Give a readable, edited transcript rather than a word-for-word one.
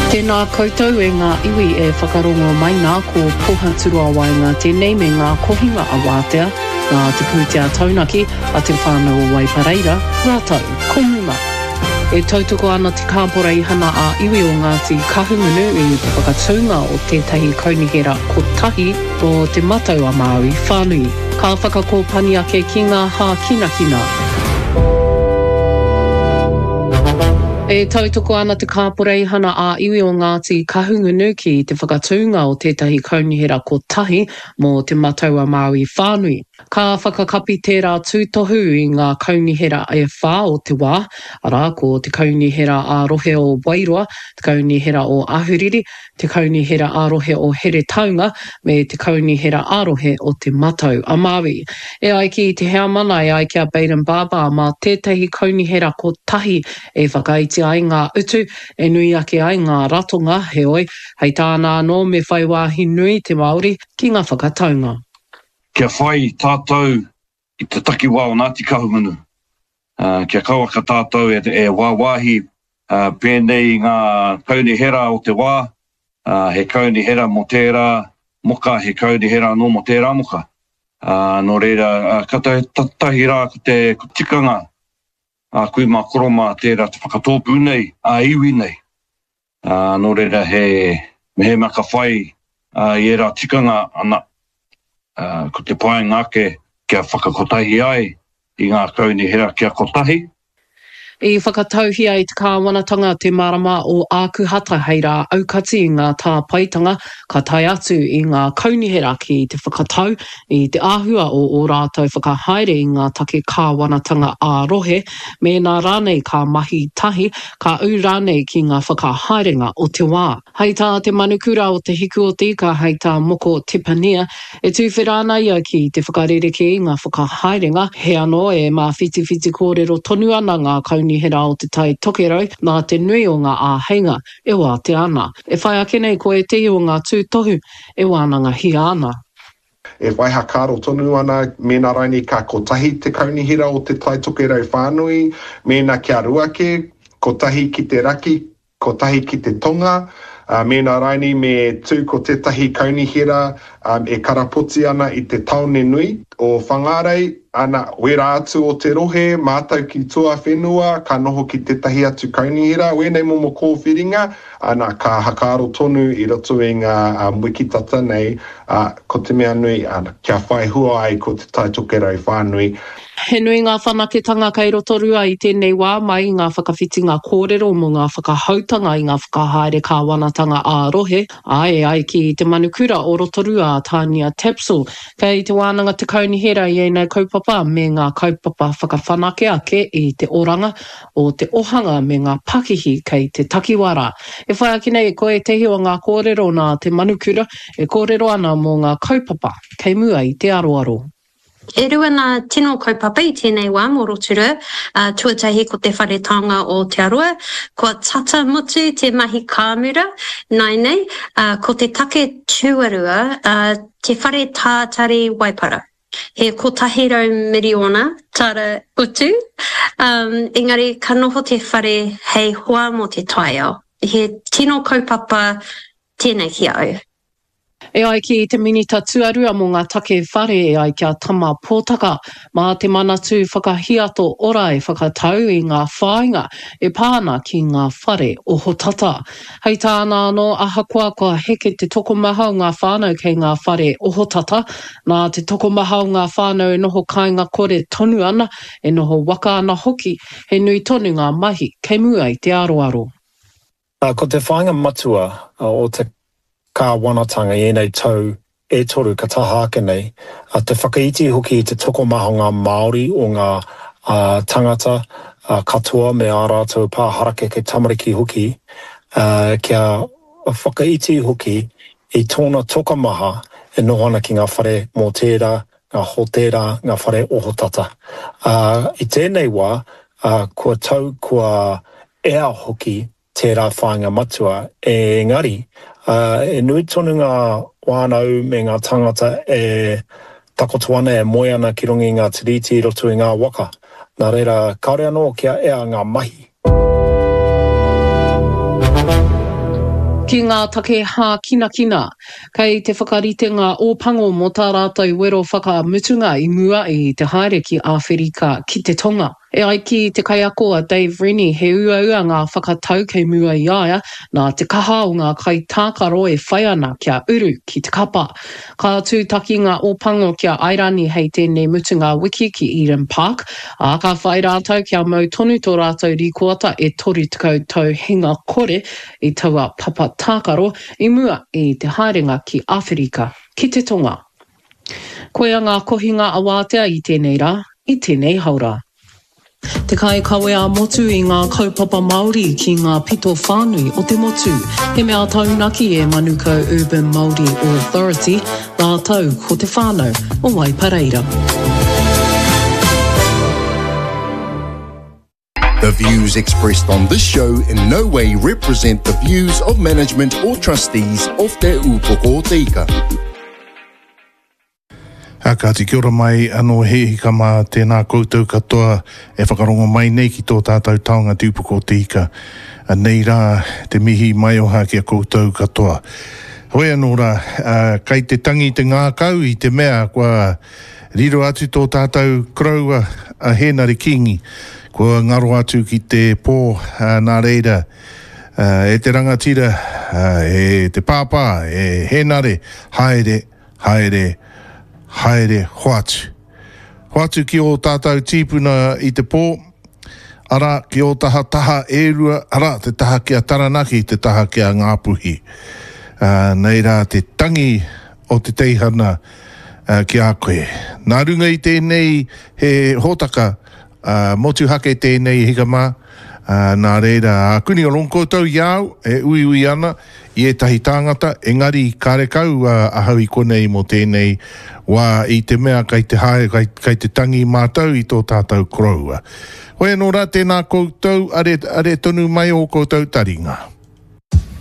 Tēnā koutou e ngā iwi e whakarongo mai nā, ko Pohaturoa Waenga tēnei me ngā kohinga a Wātea, nā te pūtea taunaki a Te Whānau o Waipareira, rātou ko Muma. E tautoko ana te Kāporeihana ā-Iwi o Ngāti Kahungunu i te whakatūnga o tētahi kaunihera kotahi mō Te Matau-a-Māui whānui. Ka whakakōpani ake ki ngā hākinakina. E tautoko ana te Kāporeihana ā-Iwi o Ngāti Kahungunu ki te whakatūnga o tētahi kaunihera kotahi mō Te Matau-a-Māui whānui. Ka whakakapi tērā tūtohu i ngā kaunihera e whā o te wā, arā, ko te Kaunihera ā-Rohe o Wairoa, te Kaunihera o Ahuriri, te Kaunihera ā-Rohe o Heretaunga, me te Kaunihera ā-Rohe o Te Matau a Māui. E ai ki te heamana, e ai ki a Bayden Barber, mā tētahi kaunihera kotahi e whakaiti ai ngā utu, e nui ake ai ngā ratonga, heoi, hei tāna anō me whai wāhi nui te Māori ki ngā whakataunga. Kia whai tātou i te takiwā o Ngāti Kahungunu, kia kauaka tātou e wāwāhi pēnei i ngā kaunihera o te wā, he kaunihera mō tērā moka, he kaunihera anō mō tērā moka. Nō reira, ka tahi rā ko te tikanga a kui mā koro mā tērā te whakatōpū nei, ā-iwi nei. Ā, nō reira he, mehemea ka whai i ērā tikanga, ana, ko te painga ake kia whakakotahi ai i ngā kaunihera kia kotahi. I whakatauhia e te kāwanatanga te marama o Ākuhata hei rā aukati i ngā tāpaetanga ka tae atu i ngā kaunihera ki te whakatau i te āhua o ō rātou whakahaere i ngā take kāwanatanga ā-rohe, mēnā rānei ka mahi tahi, ka ū rānei ki ngā whakahaerenga o te wā. Hei tā te manukura o Te Hiku o te Ika, hei tā Moko Tepania, e tuwhera ana ia ki te whakarerekē i ngā whakahaerenga, he anō e māwhitiwhiti kōrero tonu ana ngā kaunihera o Te Tai Tokerau nā te nui o ngā āheinga e wātea ana. E whai ake nei ko ētehi o ngā tūtohu e wānangahia ana. E whai hakaaro tonu ana mēnā rainei ka kotahi te kaunihera o Te Tai Tokerau whānui, mēnā kia rua kē, kotahi ki te raki, kotahi ki te tonga, ā, mēnā rainei me tū ko tētahi kaunihera e karapoti ana i te tāone nui o Whangārei, ana, wērā atu o te rohe, mātau ki tuawhenua, ka noho ki tētahi atu kaunihera, wēnei momo kōwhiringa, Ana, ka hakaaro tonu i roto i ngā wiki tata nei, ā, ko te mea nui, ana, kia whai hua ai ko Te Tai Tokerau whānui. He nui ngā whanaketanga kei Rotorua i tēnei wā mai i ngā whakawhitinga kōrero mō ngā whakahoutanga i ngā whakahaere kāwanatanga ā-rohe, ā, e ai ki te manukura o Rotorua a Tania Tapsell, kei te wānanga te kaunihera i ēnei kaupapa me ngā kaupapa whakawhanake ake i te oranga o te ohanga me ngā pakihi kei te takiwā rā. E whai ake nei ko ētehi o ngā kōrero nā te manukura e kōrero ana mō ngā kaupapa kei mua i te aroaro. E rua ngā tino kaupapa i tēnei wā mō Rotorua, tuatahi ko te Whare Taonga o Aotearoa, kua tata mutu te mahi kāmura nāianei, ko te take tuarua, te Whare Tātari Waipara. He 100 miriona tara utu, um, engari ka noho te whare hei hoa mō te taiao. He tino kaupapa tēnei ki a au. E ai ki te Minita Tuarua mō ngā Take Whare e ai ki a Tama Potaka, mā te Manatū Whakahiato Ora e whakatau i ngā whāinga e pā ana ki ngā whare ohotata. Hei tāna anō, ahakoa kua heke te tokomaha o ngā whānau kei ngā whare ohotata, Nā te tokomaha o ngā whānau e noho kāinga kore tonu ana, e noho waka ana hoki, he nui tonu ngā mahi kei mua i te aroaro. Ko te whāinga matua o te kāwanatanga i ēnei tau e toru ka taha ake nei, te whakaiti hoki i te tokomaha o ngā Māori, o ngā tangata katoa me ā rātou pā harakeke tamariki hoki, kia whakaiti hoki I tōna tokomaha e noho ana ki ngā whare mōtēra, ngā hōtēra, ngā whare ohotata. Ā, i tēnei wā, ā, kua tau, kua ea hoki tērā whāinga matua, engari, ā, e nui tonu ngā whānau me ngā tāngata e takoto ana, e moe ana ki runga i ngā tiriti i roto i ngā waka. Nā reira, kāore anō kia ea ngā mahi. Ki ngā take hākinakina, kei te whakarite ngā Ōpango mō tā rātou wero whakamutunga i mua i te haere ki Āwherika ki te Tonga. E ai ki te kaiako a Dave Rennie he uaua ngā whakatau kei mua i a ia nā te kaha o ngā kaitākaro e whai ana kia uru ki te kapa. Ka tūtaki ngā Ōpango ki a Airani hei tēnei mutunga wiki ki Eden Park, ā, ka whai rātou kia mau tonu tō rātou rīkoata e 30 tau hinga kore i taua papa tākaro i mua i te haerenga ki Āwherika ki te Tonga. Koia ngā kohinga awātea i tēnei rā, i tēnei haora. Te kaikawe ā-motu i ngā kaupapa Māori ki ngā pito whānui o te motu. He mea taunaki e Manukau Urban Māori Authority rātou ko te whānau o Waipareira. The views expressed on this show in no way represent the views of management or trustees of Te Ūpoko o Te Ika. A kāti kia ora mai anō he hika mā tēnā koutou katoa e whakarongo mai nei ki tō tātou taonga Te Ūpoko o Te Ika. Anei rā te mihi maioha ki a koutou katoa. Hoi anō rā, kai te tangi te ngākau i te mea kua Riro atu tō tātou koroua a Hēnare Kīngi, kua ngaro atu ki te pō, nā reira, e te rangatira, e te pāpā, e Hēnare, haere, haere, haere, hoatu. Hoatu ki ō tātou tīpuna i te pō, arā, ki ō taha taha e rua, arā, te taha ki a Taranaki, te taha ki a Ngāpuhi. Nei rā te tangi o te teihana ki a koe. Nā runga i tēnei he hōtaka motuhake tēnei e hika mā, nā reira ākuni o rongo koutou i a au e uiui ana i ētahi tāngata, engari karekau ahau i konei mō tēnei wā i te mea kai te haere, kai, kai te tangi mātou i tō tātou koroua. Hoi anō rā, tēnā koutou, are, are tonu mai ō koutou taringa.